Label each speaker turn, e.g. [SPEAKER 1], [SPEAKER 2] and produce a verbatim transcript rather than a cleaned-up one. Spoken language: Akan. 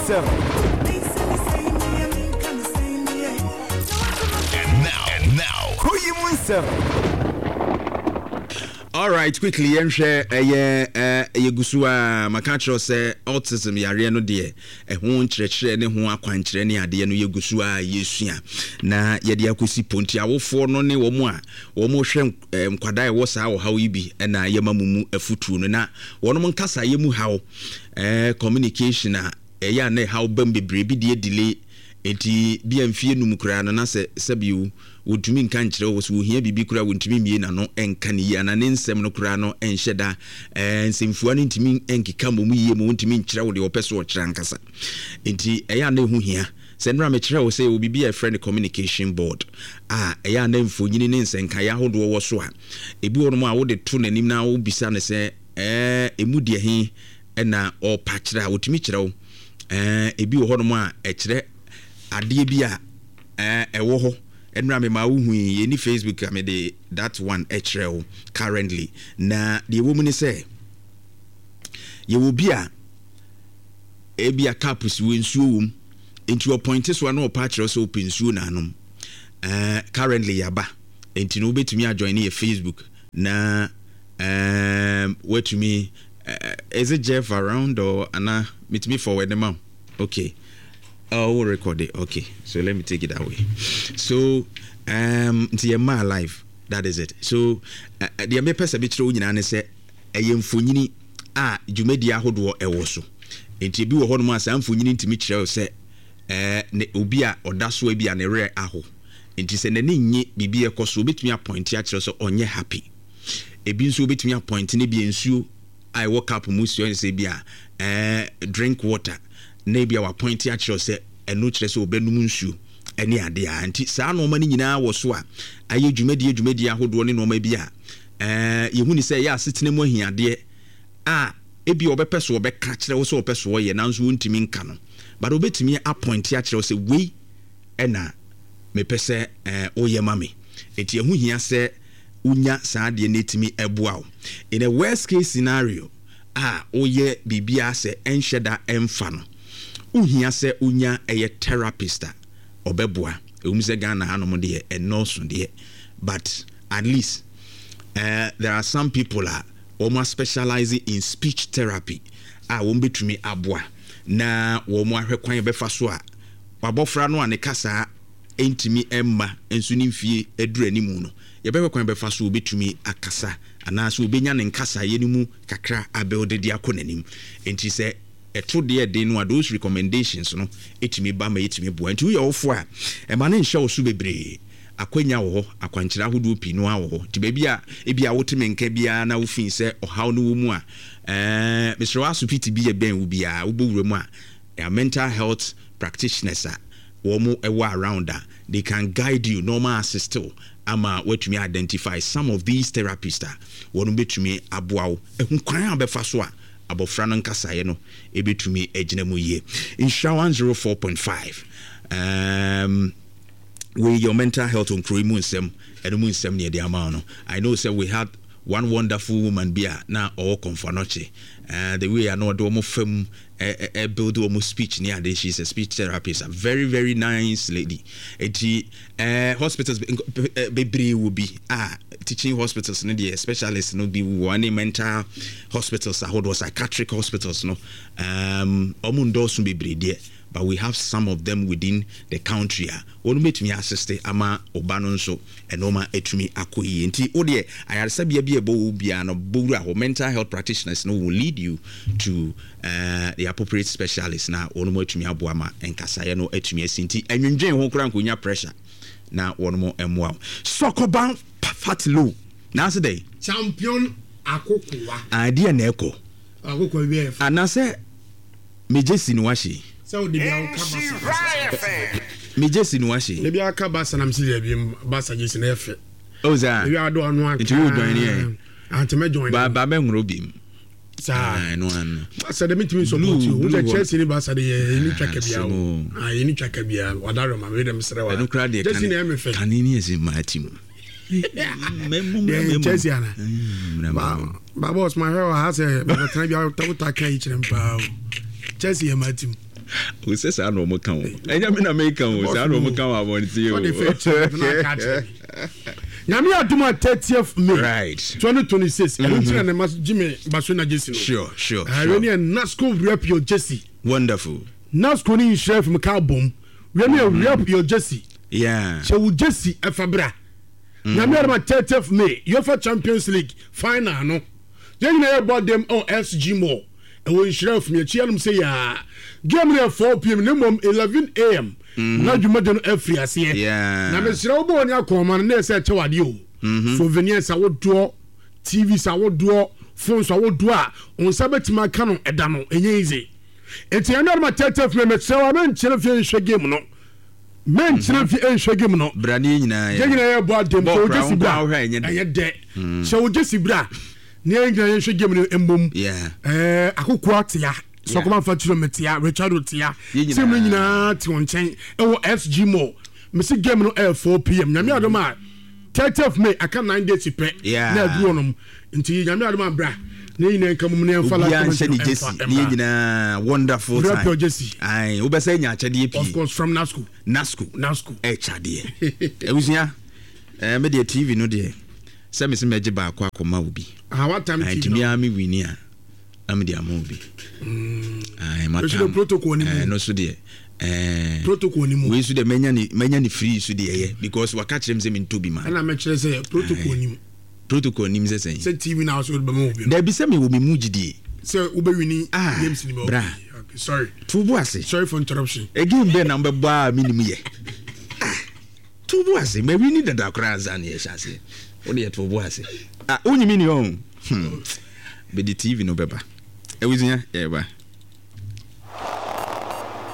[SPEAKER 1] nsɛm.
[SPEAKER 2] And now, and now,
[SPEAKER 1] Kuro yi mu nsɛm.
[SPEAKER 3] All right, quickly, yɛnhwɛ ɛyɛ ɛɛ yɛgu so a maka kyerɛ sɛ autism yareɛ no deɛ, ɛho nkyerɛkyerɛ ne ho akwankyerɛ ne adeɛ no, yɛgu so a yɛsua na yɛde akɔsi ponti. Awofoɔ no ne wɔn a wɔn hwɛ nkwadaa a ɛwɔ saa ɔhaw yi bi ɛna yɛma mu mu afutuo no na wɔn nkasa mu haw, ɛɛ communication a ɛyɛ a na ɛhaw bɛm bebree bi deɛ delay. Nti bia mfie num koraa no na sɛ sɛbio wɔntumi nka nkyerɛ wo sɛ wɔhia biribi koraa, wɔntumi mmie n'ano nka ne yie anaa ne nsɛm no koraa no nhyɛ da, ɛɛ nsɛmfua no ntumi nkeka mmom yie ma wɔntumi nkyerɛ wo deɛ wɔpɛ so ɔkyerɛ ankasa. Nti ɛyɛ a na ɛho hia sɛ nnora mekyerɛ wo sɛ yɛwɔ biribi a yɛfrɛ no communication board a ɛyɛ a na mfonyini ne nsɛnkaeɛ ahodoɔ wɔ so a ebi wɔ nom a wode to n'anim na wobisa no sɛ ɛɛ emu deɛ he ɛna ɔpa kyerɛ a, wɔtumi kyerɛ wo. ɛɛ ebi wɔ hɔnom a ɛkyerɛ adeɛ bi a ɛɛ ɛwɔ hɔ. Ɛnura mi maa wohu yi, yɛni Facebook a mede that one ɛkyerɛ wo currently. Na deɛ ɛwɔ mu ne sɛ yɛwɔ bi a ebi a cup si wɔ, nsuo wɔ mu, nti ɔpoint so a na ɔpa akyerɛ sɛ ɔpɛ nsuo na anom. ɛɛ currently yaba, nti no wobɛtumi ajoin yɛ Facebook na ɛɛm watumi ɛɛ is it Jeff around or ana metumi forward ne ma wo? Okay. Oh, we'll record it. Okay, so let me take it that way. So, um, nti yɛ maa live. That is it. So, uh, deɛ mepɛ sɛ mekyerɛ wo nyinaa ne sɛ ɛyɛ mfonyini a dwumadie ahodoɔ ɛwɔ so. Nti ebi wɔ hɔnom a saa mfonyini ntumi kyerɛ wo sɛ ɛɛ ne obi a ɔda so bi a ne werɛ aho. Nti sɛ n'ani nye biribi ɛkɔ so, obetumi apoint akyerɛ sɛ ɔnyɛ happy. Ebi nso obetumi apoint ne bi nsuo a ɛwɔ cup mu si ɔyɛ sɛ bi a ɛɛ drink water, na ebi a wapoint akyerɛ sɛ ɛno kyerɛ sɛ ɔbɛnum nsuo ɛne adeɛ a. Nti saa nneɛma no nyinaa wɔ so a ayɛ dwumadie dwumadie ahodoɔ ne nneɛma bi a ɛɛ yɛhu ne sɛ ɛyɛ asetena mu ahiadeɛ a ebi a ɔbɛpɛ so ɔbɛka kyerɛ wo sɛ ɔpɛ so ɔyɛ, nanso wɔntumi nka no, but ɔbɛtumi apoint akyerɛ wo sɛ wei ɛna mepɛ sɛ ɛɛ woyɛ ma me. Nti ɛho hia sɛ wonya saa adeɛ no etumi ɛboa wo in a worst case scenario a woyɛ biribiara sɛ ɛnhyɛ da ɛmfa no, wohia sɛ wonya ɛyɛ therapist a ɔbɛboa. Ɛwom sɛ Ghana hanom deɛ ɛnɔɔso deɛ, but at least uh, there are some people a wɔn specialize in speech therapy a wɔn bɛtumi aboa na wɔn ahwɛ kwan bɛfa so a wabɔfra no a ne kasa ntumi mma nso ne mfie aduru anim no, yɛbɛhwɛ kwan bɛfa so wɔbɛtumi akasa anaasɛ wɔbɛnya ne nkasaeɛ no mu kakra abɛwde de akɔ n'anim. Nti sɛ ɛto deɛ den no a, those recommendations no ɛtumi ba ma ɛtumi boa. Nti woyɛ wofo a, ɛma ne nhyɛ wo so bebree. Akwanya wɔ hɔ, akwankyerɛ ahodoɔ pii no wɔ hɔ. Nti baabi a ebi a wote me nka biara na wofii sɛ ɔhaw no wɔ mu a, ɛɛ mesrɛ wo, asopiti bi yɛ bɛn wo biara, wobɔ wura mu a, mental health practitioners a wɔn ɛwɔ around a they can guide you na wɔn assist wo ama watumi identify some of these therapists a wɔn bɛtumi aboa wo ɛho kwan a bɛfa so a abɔfra no nkasaeɛ no ɛbɛtumi agyina mu yie. Nhyira one oh four point five. um, wei your mental health nkuro yi mu nsɛm, ɛno mu nsɛm ne yɛde ama wo no. I know sɛ we had one wonderful woman bi a na ɔwɔ Kɔmfo Anɔkye, uh, the way a na ɔde wɔn fam ɛ build wɔn speech ne ade. She is a speech therapist, a very very nice lady. Eti uh, hospitals bebree wɔ bi a teaching hospitals no deɛ, specialist no bi wɔ ne mental hospitals ahodoɔ, psychiatric hospitals no, um, wɔn ndɔɔso bebree deɛ, but we have some of them within the country a wɔn bɛtumi assist ama ɔba no nso ɛnɔɔma atumi akɔ yie. Nti wo deɛ, ayaresabea bi a ɛbɔ wo biara no, bɔwura hɔ, mental health practitioners no will lead you to uh, the appropriate specialist na wɔn mu atumi aboa ma nkasaeɛ no atumi asi. Nti ɛnwendwen ho koraa nkonya pressure na wɔn mu mmoa wo. Sɔkɔban Fatilo naase dɛ.
[SPEAKER 4] Champion Akokoa.
[SPEAKER 3] Adeɛ na ɛkɔ.
[SPEAKER 4] Akokoa wi ɛfɛ.
[SPEAKER 3] Anaasɛ megye si no wahye.
[SPEAKER 4] Sɛ o de bi awo ka basa.
[SPEAKER 3] Megye si no wahye.
[SPEAKER 4] De bi aka basa na mesi de bi basa gye si na ɛfɛ.
[SPEAKER 3] O saa.
[SPEAKER 4] Ebi ado ano aka.
[SPEAKER 3] Nti wo join yɛ.
[SPEAKER 4] Ante mɛ join.
[SPEAKER 3] Ba ba bɛ nworo bi mu.
[SPEAKER 4] Saa.
[SPEAKER 3] Ɛno ano.
[SPEAKER 4] Basa de mi tumi support you. Wo sɛ Chelsea ni basa de yɛ yɛ ni twa ka bia o. Ah, yɛ ni twa ka bia. Wadaro ma mi de mi srɛ wa.
[SPEAKER 3] Ɛno kura deɛ.
[SPEAKER 4] Chelsea na ɛmɛ fɛ.
[SPEAKER 3] Kane ni ɛsɛ maa ti mu.
[SPEAKER 4] Deɛ Chelsea ana. Ba ba boss, ma hwɛ wɔ ha sɛ bɛtena bi a wota ka yi kyerɛ m paa o. Chelsea yɛ maa ti mu.
[SPEAKER 3] O sɛ saa na ɔmo ka o, ɛnyɛ mi na mi ka o, saa na ɔmo ka o abɔnten o.
[SPEAKER 4] Ɔde fɛ kyerɛ na aka kyerɛ mi. Nyame adum a, thirtieth May
[SPEAKER 3] right
[SPEAKER 4] twenty twenty-six, ɛno nti na ne ma Jimmy Barcelona jersey no.
[SPEAKER 3] sure sure
[SPEAKER 4] Ɛwɛ
[SPEAKER 3] sure
[SPEAKER 4] ne yɛ NASCO "Rep Your Jersey".
[SPEAKER 3] Wonderful.
[SPEAKER 4] NASCO ne nhyira fim ka bom wɛ ne yɛ "Rep Your Jersey".
[SPEAKER 3] Yeah
[SPEAKER 4] hyɛ wo jersey ɛfa bra. Nyame adum a, thirtieth May, UEFA Champions League final no, yɛn nyinaa yɛ bɔ dɛm ɔ S G Mall ɛwɔ nhyira fim akyi anum sɛ yaa game no yɛ four P M ne mmom eleven A M na dwumadi no afiri aseɛ.
[SPEAKER 3] Yeah
[SPEAKER 4] na mesrɛ wo, bɔ ne akɔnma no na ɛsɛ ɛkyɛ wadeɛ o, souvenirs ahodoɔ, T Vs ahodoɔ, phones ahodoɔ a wo nsa bɛtumi aka no ɛda no ɛnyɛ easy. Nti ɛno adoma thirtieth May, mesrɛ wo a, menkyerɛ fie nhwɛ game no, menkyerɛ fie nhwɛ game no.
[SPEAKER 3] Bra ne yɛ nyinaa.
[SPEAKER 4] Yɛn nyinaa yɛ bɔ adem.
[SPEAKER 3] Bɔ
[SPEAKER 4] sɛ wo
[SPEAKER 3] kora,
[SPEAKER 4] jersey
[SPEAKER 3] wo
[SPEAKER 4] bra
[SPEAKER 3] nkwa wohwɛ a ɛnyɛ dɛ.
[SPEAKER 4] Ɛnyɛ dɛ. Hyɛ wo jersey bra ne yɛn nyinaa yɛnhwɛ game no mmom.
[SPEAKER 3] Yeah
[SPEAKER 4] ɛɛ akokoa tea sɔkɔma fa kyerɛ me tea, Richard tea.
[SPEAKER 3] Yɛn
[SPEAKER 4] team no
[SPEAKER 3] nyinaa.
[SPEAKER 4] Nyinaa te wɔn nkyɛn ɛwɔ S G Mall. Mesi game no ɛyɛ four P M. Nyame adom a, thirtieth May, aka nine days pɛ
[SPEAKER 3] Yeah.
[SPEAKER 4] na aduru hɔnom. Nti Nyame adom a, bra ne nyinaa nka mom ne yɛmfa live
[SPEAKER 3] Obiara nhyɛ ne
[SPEAKER 4] commentary no
[SPEAKER 3] jersey
[SPEAKER 4] ɛmfa
[SPEAKER 3] ne yɛ
[SPEAKER 4] ɛmmra.
[SPEAKER 3] nyinaa wonderful
[SPEAKER 4] Rep
[SPEAKER 3] time.
[SPEAKER 4] your jersey.
[SPEAKER 3] Ayi, wobɛsɛ nya akyɛdeɛ
[SPEAKER 4] Of
[SPEAKER 3] pii.
[SPEAKER 4] course, from NASCO.
[SPEAKER 3] NASCO.
[SPEAKER 4] NASCO.
[SPEAKER 3] Ɛkyadeɛ abusua, ɛɛ me deɛ T V no deɛ, sɛ me sɛ mɛgye baako akɔma wo bi.
[SPEAKER 4] Ah, what time
[SPEAKER 3] Ayi,
[SPEAKER 4] T V
[SPEAKER 3] nti
[SPEAKER 4] no?
[SPEAKER 3] mea me win a, na mede ama wo bi. Ayi,
[SPEAKER 4] Ɛso de protocol ni mu.
[SPEAKER 3] Ɛɛ no so deɛ, ɛɛ
[SPEAKER 4] Protocol ni mu.
[SPEAKER 3] Wei so deɛ, mɛnya ne mɛnya ne free so deɛ ɛyɛ because waka kyerɛ me sɛ mentɔ bi ma.
[SPEAKER 4] Ɛna mɛkyerɛ sɛ protocol ni mu.
[SPEAKER 3] Protocol nim sɛ sɛn?
[SPEAKER 4] Sɛ T V na so bɛma wo bi no.
[SPEAKER 3] Dabi, sɛ mewɔ me mu gyidie.
[SPEAKER 4] Sɛ wobɛwin
[SPEAKER 3] Ah,
[SPEAKER 4] games ni mu.
[SPEAKER 3] bra.
[SPEAKER 4] Okay, okay, sorry.
[SPEAKER 3] To bo ase.
[SPEAKER 4] Sorry for interruption.
[SPEAKER 3] Again bɛɛ na mbɛbɔ a menim yɛ. Ah, to bo ase, mawin dada koraa ansa ne yɛhyɛ aseɛ. Wode yɛ to bo ase. Ah, wonyimi ni ɔ hmm. Bɛde T V no bɛba, abusua, yɛba.